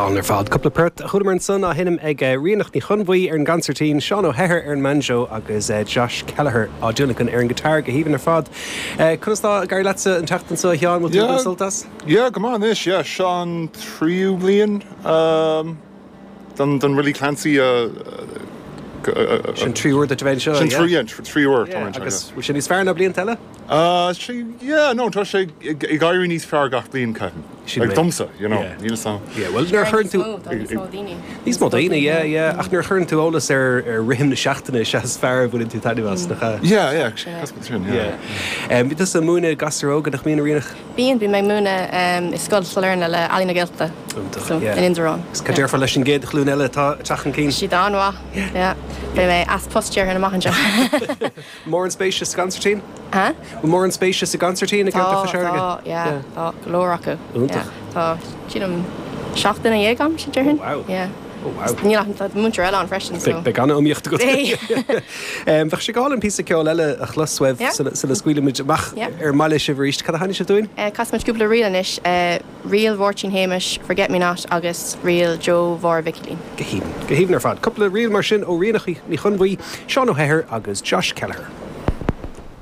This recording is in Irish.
Go hálainn ar fad. Cúpla port a chualamar ansan á sheinm ag Ríonach Ní Chonbhuí ar an gconsairtín, Seán Ó hEithir ar an mbanjo agus Josh Kelleher á dtionlacan ar an guitar. Go haoibhinn ar fad. Conas tá ag éirí leatsa an tseachtain seo a Sheáin? Bhfuil tú ag baint sult as? Yeah, go maith anois, yeah. Seo an tríú bliain don Willie Clancy a. Sin tríú huair duit a bheith anseo, yeah? Sin yeah, tríú huair tá mé anseo, yeah. Agus bhfuil sé níos fearr ná blianta eile? Yeah, no, tá sé ag éirí níos fearr gach bliain, ceapaim. Like domsa, you know, níl 'fhios a'm. Yeah, well, nuair a chuireann tú. Tá níos mó daoine. Níos mó daoine, yeah, yeah. Ach nuair a chuireann tú eolas ar rithim na seachtaine is ea is fearr a bhaineann tú taitneamh as, nach ea? Yeah, yeah, cosúil sin, yeah. Yeah. Bíonn tusa ag múineadh gasúir óga, nach mbíonn, a Ríonach? Bíonn, bíonn mé ag múineadh i Scoil Sailearna le Ealaín na Gaeltachta. Iontach, So, yeah. in Indreabhán. Agus cad déarfá leis an gcéad ghlúin eile atá ag teacht chun cinn? Siad an-mhaith, yeah. Beidh mé as post déarfainn amach anseo. Mórán spéise sa gconsairtín? Huh? Bhfuil mórán spéise sa gconsairtín i Tá, gceantar Chois Fharraige? tá, yeah, tá go leor acu. Iontach. Yeah, tá, sílim, 17 duine agam, déarfainn. Oh wow. Yeah. Oh wow. Níl ach, tá múinteoir eile ann freisin, so. Beidh an-iomaíocht agat. Beidh. Bheadh sé go hálainn píosa ceoil eile a chlos uaibh Yeah. sula, sula scaoilfimid amach Yeah. ar an mbaile sibh arís. Cad a sheinnfidh sibh dúinn? Eh, casfaimid cúpla ríl anois. Eh, Ríl Mháirtín Shéamais, Forget Me Not agus ríl Joe Mháire Mhicilín. Go haoibhinn. Go haoibhinn ar fad. Cúpla ríl mar sin ó Ríonach Ní Chonbhuí, Seán Ó hEithir agus Josh Kelleher.